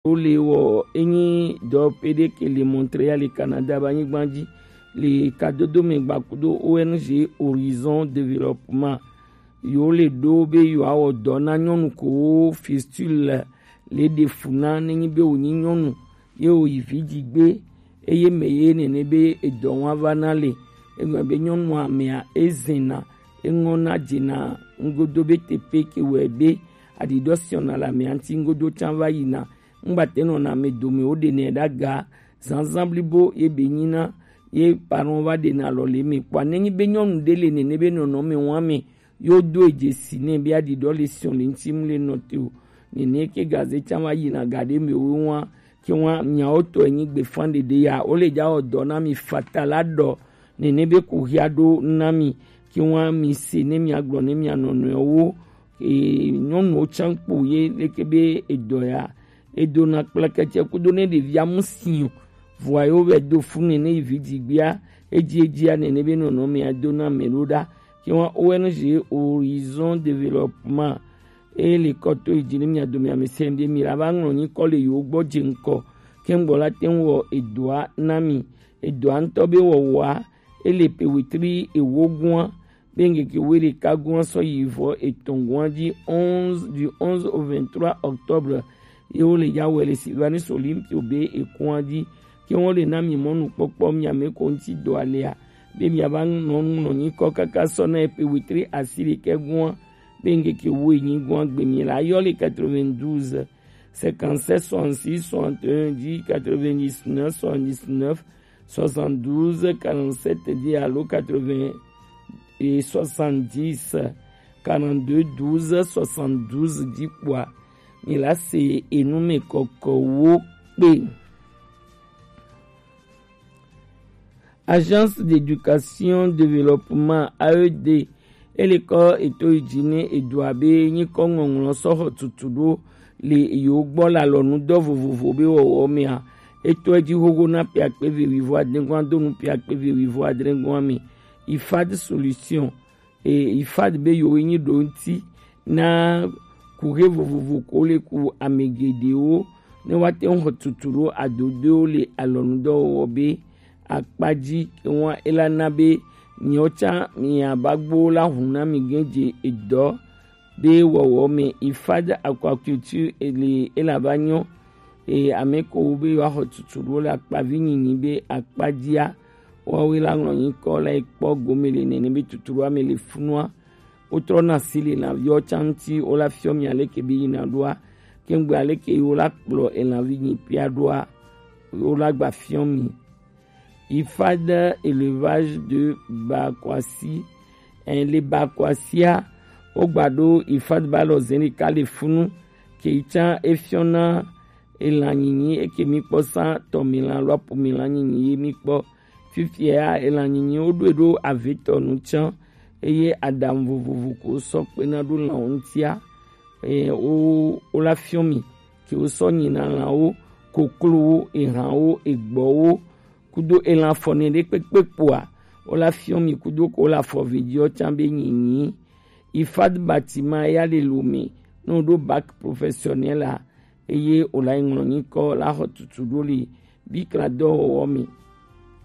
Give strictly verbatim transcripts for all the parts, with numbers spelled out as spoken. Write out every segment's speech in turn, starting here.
Wole wɔ enyi dɔ pede ke le Montréal le Canada ba nyigba ji le kadodo me gba kudo O N G Horizon Développement. Yo le ɖo be yewoawɔ dɔ na nyɔnu kowo fistule le ɖe fu na nenyi be wònyi nyɔnu ye wòyi vi dzi gbe, eye mɛ ye nene be edɔ wa va na le. Egblɔ be nyɔnua mea ezena, eŋɔna dzena ŋgodo be teƒe ke wɔe be aɖiɖɔ siɔna le amea ŋuti ŋgodo tsã va yina. Ŋgbate nɔna ame dome wo ɖenɛ ɖe aga. Zazã blibo ye be nyina ye parɔn va ɖena alɔ le me kpɔa. Nenyi be nyɔnu ɖe le nene be nɔnɔme wa me yo do edze si nɛ be aɖiɖɔ le siɔ le ŋuti mu le nɔ te o. Nene ke gaze tsã va yina ga ɖe me wo wa ke wa miawo tɔ enyi gbefa ɖeɖe ya wo le dza wɔ dɔ na mi fata la ɖɔ nene be ko hia ɖo na mi ke wa mi se ne mia gblɔ ne mia nɔnɔewo. Ee, nyɔnuwo tsã kpo ye leke be edɔ ya edona kpleketse kudo ne ɖevia mu si o. Vɔa yewo vɛ do fu nɛ ne yi vi dzigbea edzi edzia nene be nɔnɔmea do na ame ɖo ɖa. Ke wa O N G Horizon Développement e le kɔ to yi dzi ne mia dome ame sɛn ɖe mi la va ŋlɔ nyikɔ le yewo gbɔ dze ŋkɔ ke ŋgbɔ la te ŋu wɔ edɔa na mi. Edɔa ŋutɔ be wɔwɔa ele pe wetri ewo gua be ŋkeke wuiɖeka gua sɔ yi vɔ etɔ̃ gua dzi onze, du onze au vingt-trois octobre ye wo le ya wɔe le Sylvanus Olympio be ekua dzi. Ke wo le na mi mɔnukpɔkpɔ mi ame ko ŋuti dɔ alea be mia va nɔ nɔ nyikɔ kaka sɔ na epe wetri asi ɖekɛ gua be ŋkeke wu enyi gua gbe mi la yɔ le quatre-vingt-douze cinquante-sept soixante-six soixante et un dix quatre-vingt-dix-neuf soixante-dix-neuf soixante-douze quarante-sept dix alo quatre-vingts et soixante-dix quarante-deux douze soixante-douze dzi kpɔa mi la se enu me kɔkɔwo kpe. Agence d'éducation développement A E D ele kɔ eto yi dzi ne edo abe nyikɔ ŋɔŋlɔ sɔ xɔ tutu ɖo le yewo gbɔ le alɔnudɔ vovovo be wɔwɔ mea. Etɔ edzi xoxo na ƒe akpe eve wuivo adre gɔn do nu ƒe akpe eve wuivo adre gɔn me. IFAD solution e IFAD be yewo nyi ɖo ŋuti na kuxe vovovo ko le ku ame geɖewo ne woate ŋu xɔ tutu ɖo adodoewo le alɔnudɔwɔwɔ be akpa dzi ke ŋua ela na be miawo tsã miaba gbo la hu na mi gẽ dze edɔ be wɔwɔ me. IFAD aquaculture ele ela va nyɔ e ame ko be yewoaxɔ tutu ɖo le akpavi nyinyi be akpa dzia woawoe la ŋlɔ nyikɔ la yi kpɔ gome le nene be tutu ɖoa me le funua. Wotrɔna asi le lãviwo tsã ŋuti wola fiɔ mi aleke be yina ɖoa. Kengbe aleke yi wola kplɔ elãvi nyi pia ɖoa wola gba fiɔ mi. IFAD élevage de Bakwasi. Ɛn le Bakwasia wogba ɖo IFAD ba lɔ zɛn ɖeka le funu ke yi tsã efiɔna elã nyinyi eke mi kpɔ sã tɔmilã alo apomilan nyinyi ye mi kpɔ. Fifia elã nyinyi wo ɖo ɖo avetɔ nu tsã eye aɖaŋu vovovo ko sɔ kpena ɖo lãwo ŋutia. Eye wo wola fiɔ mi ke wo sɔ nyina lãwo, koklowo, ehãwo, egbɔwo kudo elã fɔne ɖe kpekpe kpoa wola fiɔ mi kudo ko wola fɔ vidiɔ tsã be nyinyi. IFAD bâtiment ya le Lomé ne woɖo bac professionnel a eye wòle ŋlɔ nyikɔ la xɔ tutu ɖo le bikla dɔwɔwɔ me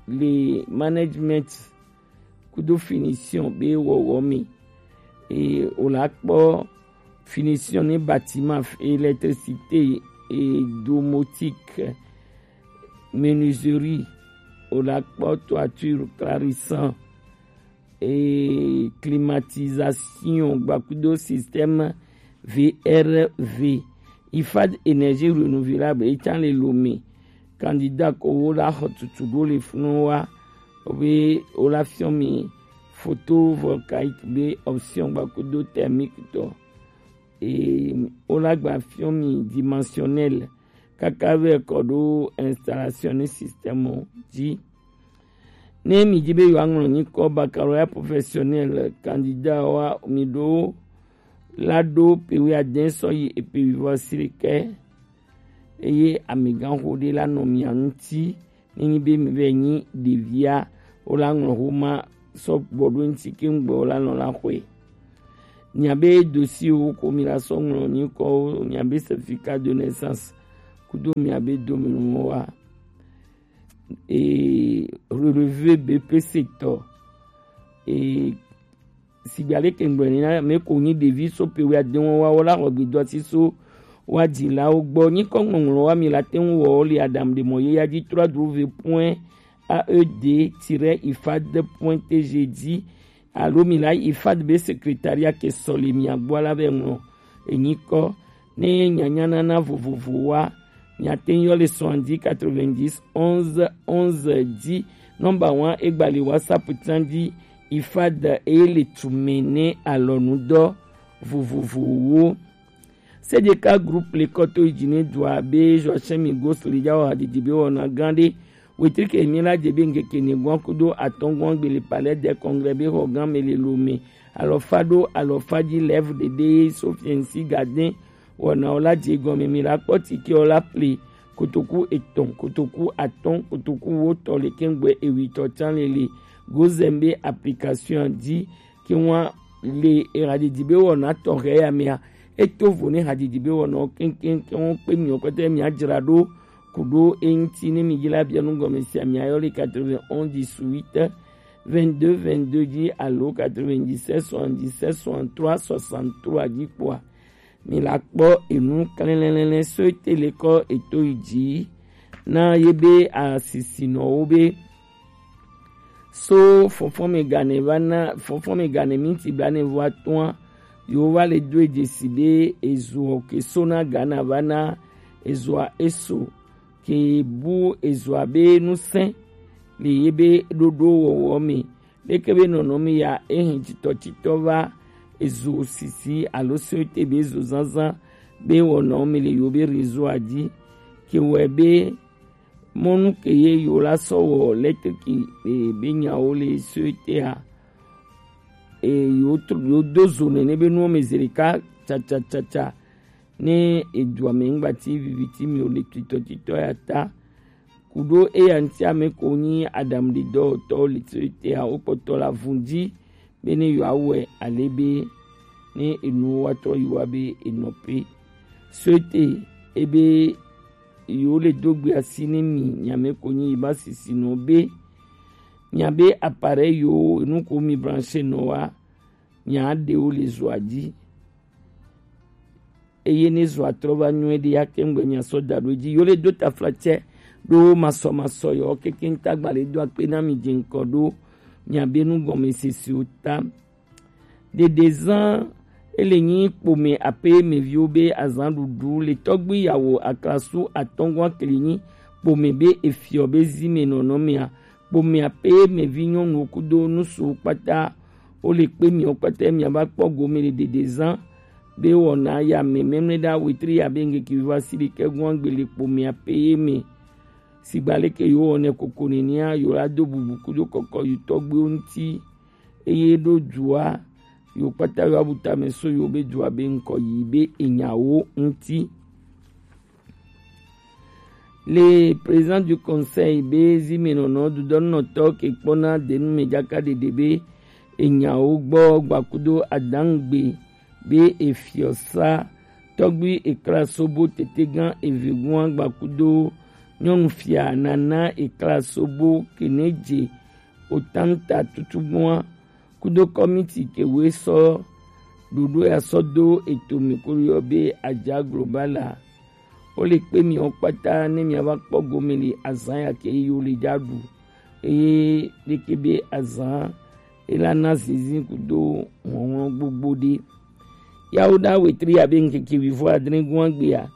le management kudo finition be wɔwɔ me. Eye wòle akpɔ finition ne bâtiment, électricité, et domotique, menuiserie, wòle akpɔ toiture, clarissant, et climatisation gbakudo système V R V. IFAD énergie renouvelable etsã le Lomé. Candidat ko wo la xɔ tutu ɖo le funu wa be wo la fiɔ mi photovoltaïque be option gbakudo thermique tɔ. Et wo la gba fiɔ mi dimensionnel kaka vɛ kɔ ɖo installation ne système dzi. Ne mi di be yewoaŋlɔ nyikɔ baccalauréat professionnel candidat wa mi ɖo la ɖo pe wuiadɛn sɔ yi epe wuivɔ asi ɖekɛ eye amegãxo ɖe la nɔ mia ŋuti. Ne nyi be mi vɛ nyi ɖevia wo la ŋlɔ xoma sɔ gbɔ ɖo ŋuti ke ŋgbɔ wo la nɔ la xɔe. Nya be dossier wo ko mi la sɔ ŋlɔ nyikɔwo nya be certificat de naissance kudo miabe domenuwo wa. E relevé B P C tɔ. E sigba leke ŋgblɔ ni na me ko nyi ɖevi so pe wi adewo wa wo la xɔ gbedoasi so wa dzilawo gbɔ. Nyikɔ ŋɔŋlɔ wa mi la te ŋu wɔ le adam de mɔ ye ya dzi trois w point A E D tiret ifad point T G dzi alo mi la ifad be secrétariat ke sɔ le mia gbɔ la be ŋlɔ enyikɔ ne nyanya nana vovovo wa. Miate ŋu yɔ le soixante-dix quatre-vingt-dix onze onze dzi. Nɔmba wa egbali WhatsApp tsan dzi ifad eye le tume ne alɔnudɔ vovovowo. Sedeka group le kɔto yi dzi ne dua be Joachim Migos le dza wɔ hadidi be wɔna gã ɖe. Wetrike mi la dze be ŋkeke ne gɔn kudo atɔngɔn gbe le Palais des Congrès be xɔ gã me le Lomé. Alɔfa ɖo alɔfa dzi lève ɖeɖe so fiɛnsi gade wɔnawo la dze gɔme mi la kpɔ tikewo la ple kotoku etɔn, kotoku atɔn, kotoku wotɔ le kɛŋgbɛ ewitɔ tsan le le Gozem be application dzi ke wa le ehadidi be wɔna tɔxɛ ya mea. Eto vo ne hadidi be wɔna keŋkeŋkeŋ wo kpe mi kɔtɛ mi adzra ɖo ku ɖo eŋti ne mi dzra bia nu gɔme sia mi ayɔ le quatre-vingt-onze dix-huit vingt-deux vingt-deux dzi alo quatre-vingt-dix-sept soixante-dix-sept soixante-trois soixante-trois dzi kpɔa. Mi la kpɔ enu klɛlɛlɛ so ete le kɔ eto yi dzi na ye be asisinɔwo be so fɔfɔme gane va na fɔfɔme gane minti blanevɔ atɔ̃a yewo va le do dzesi be ezo ke so na Ghana va na ezoa eso ke bu ezoa be nusẽ le ye be ɖoɖo wɔwɔ me. Leke be nɔnɔme ya ehin titɔtitɔ va ezo sisi alo so ete be ezo zazã be wɔnɔ me le yewo be réseau a dzi ke wɔe be mɔnu ke ye yewo la sɔ wɔ lettre ke e be nyawo le so etea e yewo tro yewo do zo nene be nuwo me zi ɖeka tsatsatsatsa ne edua me ŋgbati viviti mi o le titɔtitɔ ya ta. Ku ɖo eya ŋuti ame ko nyi aɖaŋuɖedɔwɔtɔwo le so etea wo kpɔtɔ la vun dzi be ne yewoawɔe ale be ne enuwo wa trɔ yi wa be enɔ pe. So ete ebe yewo le do gbe asi ne mi nyame ko nyi yi ba sisi nɔ be nya be appareil yo enu ko mi branche nɔ wa nya ɖewo le zoa dzi. Eye ne zɔa trɔ va nyuie ɖe ya ke ŋgbe mia sɔ da ɖo edzi. Yo le do taflatsɛ ɖo masɔmasɔ yɔ keke ŋta gba le do akpe na mi dze ŋkɔ ɖo miabe nu gɔme sesiwo ta. Ɖeɖe zã ele nyi kpome ape meviwo be azã ɖuɖu le tɔgbi yawo aklasu atɔngɔn akli nyi kpome be efiɔ be zi me nɔnɔ mea kpome ape mevi nyɔnuwo kudo nusu kpata wo le kpe miwo kpata mia va kpɔ gome le ɖeɖe zã be wɔna ya me mɛmlɛ ɖa wetri ya be ŋgeke viva si ɖe ke gɔn agbe le kpome ape ye me. Sigba leke yo wɔnɛ koko nenia yo la do bubu kudo kɔkɔ yo tɔgbiwo ŋti. Eye ɖo dua yo kpata yo abu tame so yo be dua be ŋkɔ yi be enyawo ŋti. Le président du conseil be zimenɔnɔ dudɔnɔtɔ ke kpɔna denu me jaka ɖeɖe be enyawo gbɔ gbakudo adangbe be efiɔsa tɔgbi ekla sobo tetegã evegua gbakudo nyɔnufia nana ekla sobo keneje otanta tutugbua kudo kɔmiti ke woe sɔ ɖoɖo ya sɔ do eto mi ko yɔ be adza global a. Wo le kpe miwo kpata ne mia va kpɔ gome le azã ya ke yi wo le dza ɖu eye leke be azã ela na zinzin kudo hlɔnhlɔn gbogbo ɖe. Yawo ɖa wetri ya be ŋkeke wivɔ adre gua gbea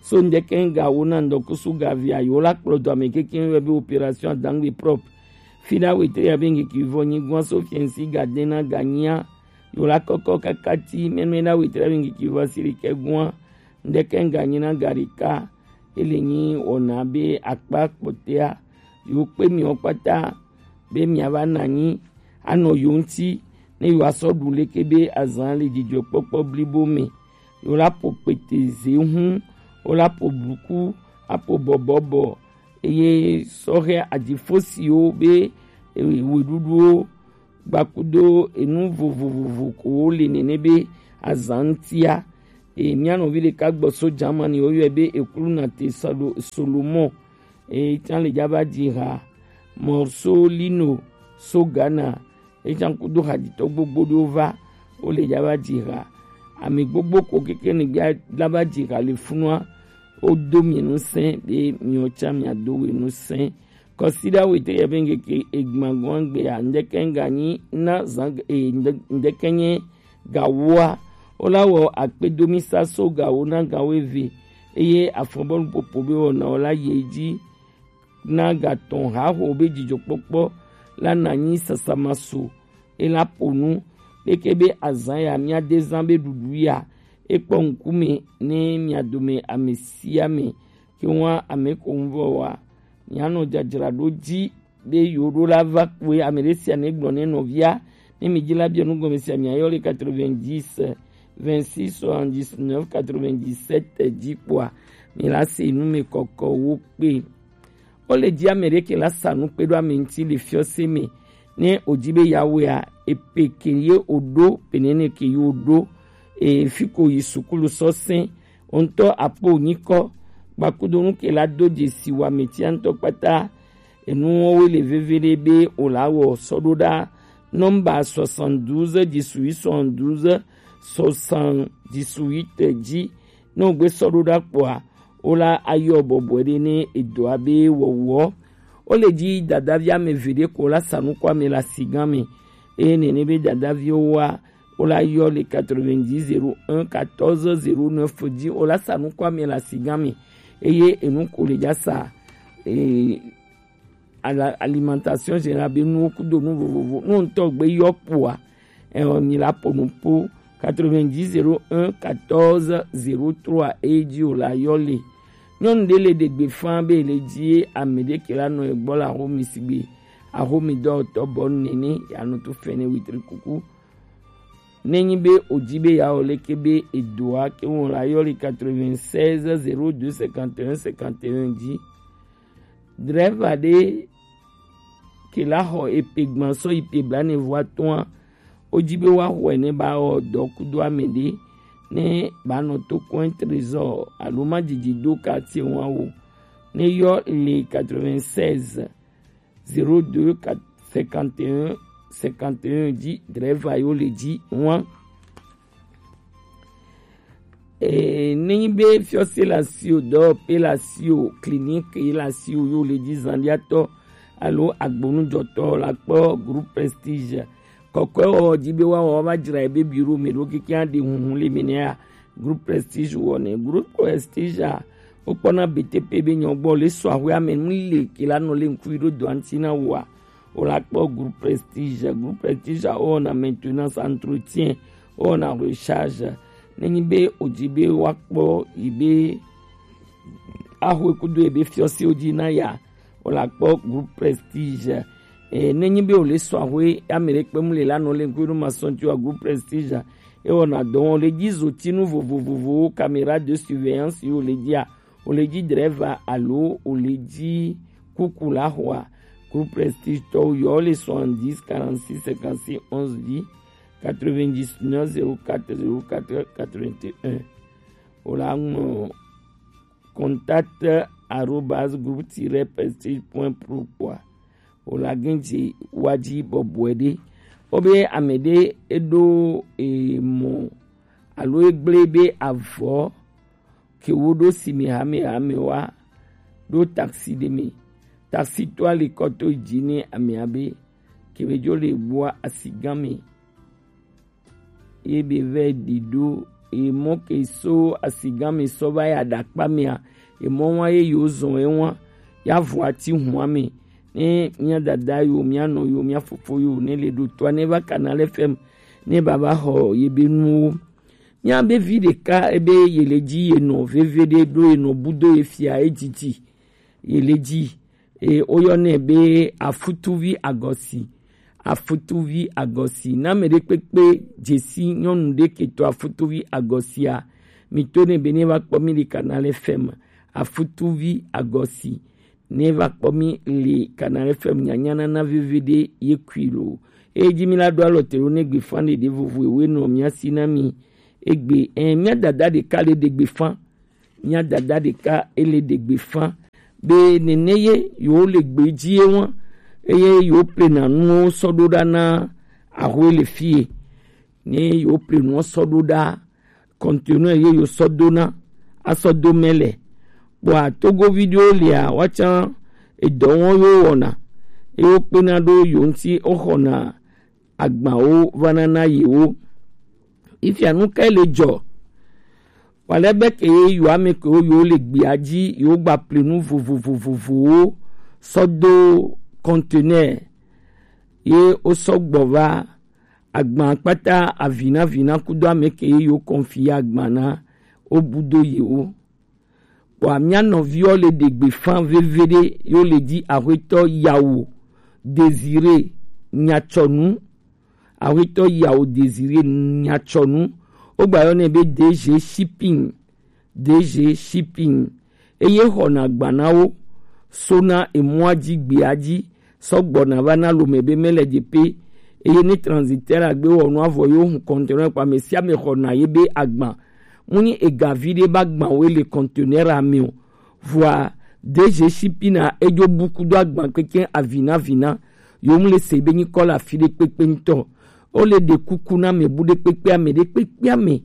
so ŋdeke ŋga wo na ŋdɔkusu gavia yo la kplɔ dɔ ame keke yɔ be opération adangbe propre. Fi ɖa wetri ya be ŋkeke wivɔ nyi gua so fiɛnsi ga de na ga nyia yo la kɔkɔ kaka ti mɛmɛ ɖa wetri ya be ŋkeke wivɔ si ɖekɛ gua ŋdeke ŋga nyi na ga ɖeka. Ele nyi wɔna be akpa kpɔtɛa yo kpe miwo kpata be mia va na nyi anɔ yo ŋti ne yo asɔ ɖu leke be azã le dzidzɔkpɔkpɔ blibo me. Yo la po kpete ze hu wo la po buku apo bɔbɔbɔ eye sɔhɛ adifosiwo be weɖuɖuwo gbakudo enu vovovovo ko wo le nene be azã ŋtia E mía nɔvi ɖeka gbɔ so Jamani, woyɔe be Eklunate Salo-, Solomon. E tsã le dza va dzi ha. Morso Lino so Ghana. E tsã kudo hadzitɔ gbogbo ɖewo va. Wole dza va dzi ha. Ame gbogbo ko keke ne gbia la va dzi ha le funua. Wodo mi ŋusẽ be miwo tsã miado we ŋusẽ. Kɔsiɖa wete ya be ŋkeke egbagbɔn gbe ya, ŋdeke ŋganyi na zan, e, ŋde-, ŋdeke nye gawoa, wola wɔ akpedomisa so gawo na gawo eve, eye afɔbɔlu popo be wɔna wola yi edzi na gatɔn haho be dzidzɔkpɔkpɔ la nanyi sasamaso, ela ƒo nu leke be azã ya míade zã be ɖuɖu ya ekpɔ ŋkume ne mia dome ame sia ame. Ke ŋua ame ko ŋu vɔ wa, mianɔ dzadzraɖo dzi be yewo ɖo la va kpɔe. Ame ɖe sia ne gblɔ ne nɔvia ne mi dzi la biɔ nu gɔme sia, miayɔ le quatre-vingt-dix, vingt-six, soixante-dix-neuf, quatre-vingt-dix-sept dzi kpɔa, mi la se nu me kɔkɔ wo kpe. Wole dzi ame ɖe ke la sa nu kpe ɖo ame ŋuti le fiɔse me. Ne wòdi be yeawɔea, epe ke ye wòɖo, penene ke ye wòɖo, e, fi ko yi sukulu sɔ sɛ̃, wo ŋutɔ akpɔ wò nyikɔ, kpakudo nu ke la do dzesi wò ame tia ŋutɔ kpata. Enuwo le veve ɖe be wòla wɔ sɔ ɖo ɖa nɔmba soixante-douze dix-huit soixante-douze soixante-dix-huit dzi. Ne wògbe sɔ ɖo ɖa kpɔa, wola ayɔ bɔbɔe ɖe ne edɔa be wɔwɔ. Wole dzi dadavi ame eve ɖe ko la sa nu kɔ ame le asigã me, eye nene be dadaviwo wa, wola yɔ le quatre-vingt-dix zéro un quatorze zéro neuf dzi, wola sa nu kɔ ame le asigã me, eye enu ko le dza sa, e, ala-, alimentation générale be nuwo kudo nu vovovo, nu ŋutɔ gbe yɔ kpɔa, e, mi la ƒo nu ƒo quatre-vingt-dix zéro un quatorze zéro trois e dzi wòla yɔ le. Nyɔnu ɖe le ɖe gbe faa be le dzi ye ame ɖe ke la nɔ egbɔ le axomi sigbe axomi dɔwɔtɔ bɔ nene yeanɔ to fɛnɛ witri kuku. Ne nyi be wòdi be yeawɔ leke be edoa ke ŋu la yɔ le quatre-vingt-seize zéro deux cinquante et un cinquante et un dzi. Drɛva ɖe ke la xɔ epe gbã sɔ yi pe blaene vɔ atɔ̃a, wodi be woaxɔe ne ba wɔ dɔ kudo ame ɖe ne ba nɔ to coin trésor alo ma dzidzi do quartier ŋua o. Ne yɔ le quatre-vingt-seize zéro deux cinquante et un cinquante et un dzi, drɛva yo le dzi ŋua. Ee, nenyi be fiɔse le asiwò, dɔwɔƒe le asiwò, clinique ye le asiwò, yo le dzi zanliatɔ alo agbonudzɔtɔ la kpɔ Groupe Prestige. Kɔkɔewɔwɔ di be woawɔ woava dzra ebe bureau me ɖo keke aɖe huhu le me nɛa, Groupe Prestige wɔnɛ. Groupe Prestige a, wokpɔna B T P be nyɔgbɔ le sɔ ahwe ame nu le ke la nɔ le ŋku ɖo dɔa ŋuti na wòa. Wòla kpɔ Groupe Prestige. Groupe Prestige a, wowɔna maintenance, entretien, wowɔna recharge. Nenyi be wòdi be woakpɔ yi be axɔe kudo yi be fiɔsewo dzi na ya, wòla kpɔ Groupe Prestige. E, nenyi be wòle sɔ ahwe ame ɖe kpem le la nɔ le ŋku ɖo ma sɔn tso Groupe Prestige a, ewɔna dɔ wɔn le dzi zotinu vovovowo, caméra de surveillance yi wòle dzia, wòle dzi drɛva alo wòle dzi kuku la xɔa, Groupe Prestige tɔwo yɔ le soixante-dix quarante-six cinquante-six onze dzi, quatre-vingt-dix-neuf zéro quatre zéro quatre quatre-vingt-un. Wòla ŋlɔ contact arobase groupe tiret prestige point pro kpɔa. Wòla gɛn dzi wa dzi bɔbɔe ɖe. Wobe ame ɖe eɖo emɔ alo egblẽ be avɔ ke woɖo si me hamehame wa ɖo taxi ɖe me. Taxi to ali kɔto dzi ne amea be ke be dzo le bua asigã me. Ye be vɛ ɖi ɖo emɔ ke so asigã me sɔ va ya ɖakpa mea, emɔ wa ye yewo zɔn ewa ya vɔ ati hua me. Ne mía dada yo, mía nɔ yo, mía fofo yo ne le ɖo toa ne va Canal F M ne baba xɔ ye be nuwo. Mía be vi ɖeka ebe ye le dzi ye nɔ veve ɖe ɖo ye nɔ budo ye fia ye dzidzi ye le dzi. E, woyɔnɛ be Afutuvi Agɔsi. Afutuvi Agɔsi. Na ame ɖe kpekpe dzesi nyɔnu ɖe ke to Afutuvi Agɔsia, mi to ne be ne va kpɔ mi le Canal F M. Afutuvi Agɔsi. Ne va kpɔ mi le Canal F M nyanya nana veve ɖe ye kui lo. Eyi dzi mi la ɖo alɔ te ɖo ne gbe fan ɖeɖe vovo ewe nɔ mia si na mi. egbe, eh, mía dada ɖeka le ɖegbe fã. Mía dada ɖeka ele ɖegbe fã. Be nene ye yewo le gbe ji ye ŋua, eye yewo plena nuwo sɔ ɖo ɖa na ahoe le fie. Ne yewo ple nuwo sɔ ɖo ɖa, conteneur ye yewo sɔ do na, asɔ do mɛ le. Kpɔa Togovi ɖewo lia, woatsã edɔ wɔn yewo wɔna, ye wokpena ɖo yewo ŋuti, woxɔna agbawo vana na yewo. Ifia nu kae le dzɔ? Wale be ke ye yewo ame kewo yewo le gbea ji, yewo gba ple nu vovovovovowo sɔ do conteneur, ye wosɔ gbɔ va agba kpata avina vina kudo ame ke ye yewo confier agba na, wobu do yewo. Kpɔa mía nɔviwo le ɖegbe fã veviɖe, yewo le ji Ahoetɔ Yawo Désiré Nyatsɔnu. Ahoetɔ Yawo Désiré Nyatsɔnu. Wogba yɔnɛ be D G Shipping. D G Shipping. Eye xɔna agba na wo sona emɔa ji gbea ji sɔ gbɔna va na lome be mele de pe. Eye ne transitaire agbe wɔ nu avɔ yo hun conteneur kpa, ame sia ame xɔna ye be agba. Mu nyi ega vi ɖe ba gba wo le conteneur ame o. Vɔa D G Shipping na edzo buku do agba keke avina vina. Yo mu le se be nyi kɔ le afi ɖe kpekpe ŋutɔ. Wo le ɖe kuku na ame bu ɖe kpekpe ame ɖe kpekpe ame.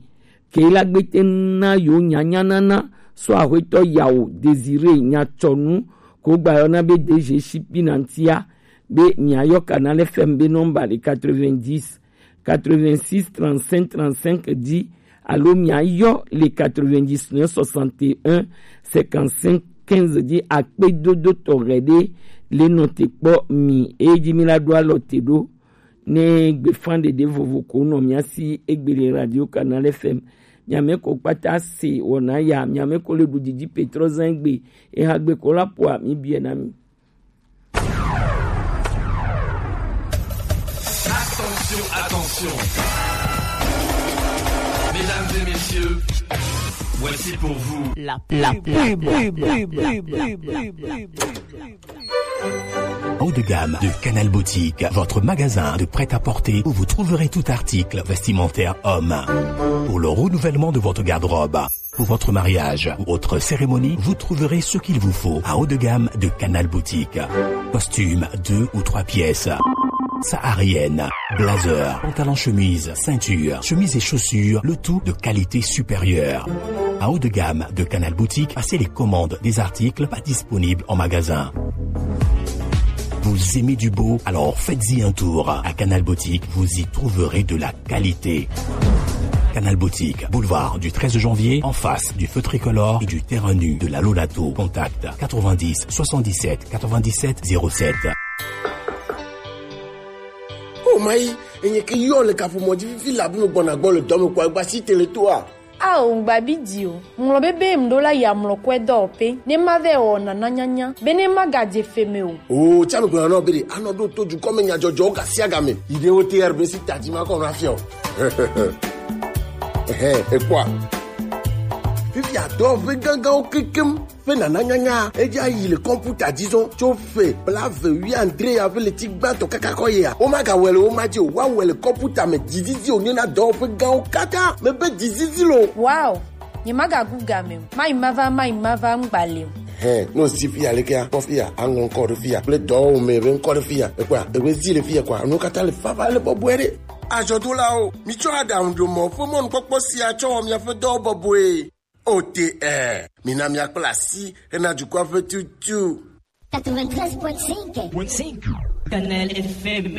Ke la gbete na yo nyanya nana sɔ Ahoetɔ Yawo Désiré Nyatsɔnu ko gba yɔna be D G Shipping na ŋutia, be mia yɔ Canal F M be nɔmba le quatre-vingt-dix, quatre-vingt-six, trente-cinq, trente-cinq dix, alo mia yɔ le quatre-vingt-dix-neuf, soixante et un, cinquante-cinq, quinze dix. Akpedodo tɔxɛ ɖe le nɔ te kpɔ mi, eyi ji mi la ɖo alɔ te ɖo. Ne gbe fan ɖeɖe vovo ko nɔ mia si egbe le Radio Canal F M. Miame ko kpata se wɔna ya, miame ko le ɖu didi petrɔ zan egbe, eha gbe ko la poa mi biɛ na mi. Attention, attention. Mesdames et messieurs, voici pour vous la pub. Haut de gamme de Canal Boutique, votre magasin de prêt-à-porter où vous trouverez tout article vestimentaire homme. Pour le renouvellement de votre garde-robe, pour votre mariage ou autre cérémonie, vous trouverez ce qu'il vous faut à haut de gamme de Canal Boutique. Costume deux ou trois pièces, saharienne, blazer, pantalon chemise, ceinture, chemise et chaussures, le tout de qualité supérieure. À haut de gamme de Canal Boutique, passez les commandes des articles pas disponibles en magasin. Vous aimez du beau ? Alors faites-y un tour. À Canal Boutique, vous y trouverez de la qualité. Canal Boutique, boulevard du treize janvier, en face du feu tricolore et du terrain nu de la Lolato. Contact quatre-vingt-dix soixante-dix-sept quatre-vingt-dix-sept zéro sept. Oh mayi, enye ke yɔ le kaƒomɔ dzi fifi labe me gbɔna gbɔ le dɔ me kpɔ egba si tele toa. Ao, ŋgba bi di o. Ŋlɔ be be ŋɖo la ya mlɔ kɔe dɔwɔƒe. Ne ma vɛ wɔ nana nyanya. Be ne ma gadze fe me o. O, tsa me gblɔna nɔ be ɖe, anɔ ɖo to dukɔ me nyadzɔdzɔwo gasiagame. Yi ɖe wo T R B si tadzi ma kɔ nɔ afia o. Ehe, ekpɔa. Fifia dɔwɔƒe gãgãwo kekem. Ƒe nana nyanya, edze ayi le kɔmputa dzi zɔ tso ƒe blaeve wuiadre ya ƒe ɣleti gbãtɔ kaka kɔ yia. Womagawɔe le wo ma dzi o, woawɔe le kɔmputa me dzizizi wònye na dɔwɔƒe gãwo katã. Mebe dzizizi lo. Wow, nyemagagu game o. Mayi mava, mayi mava ŋgba le o. Hɛ, no si fiya lekea, kpɔ fiya, aŋlɔ ŋkɔ ɖe fiya, kple dɔwɔwɔ me ƒe ŋkɔ ɖe fiya. Ekpɔa, ewe zi le fiya kɔa, nuwo katã le vava le bɔbɔe ɖe. Azɔdolawo, mitsɔ aɖaŋuɖomɔ ƒe mɔnukpɔkpɔ sia tsɔ wɔ miaƒe dɔwo bɔbɔe. O T R, mina míakpla asi hena dukɔa ƒe tutu. Quatre-vingt-treize point cinq. Canal F M.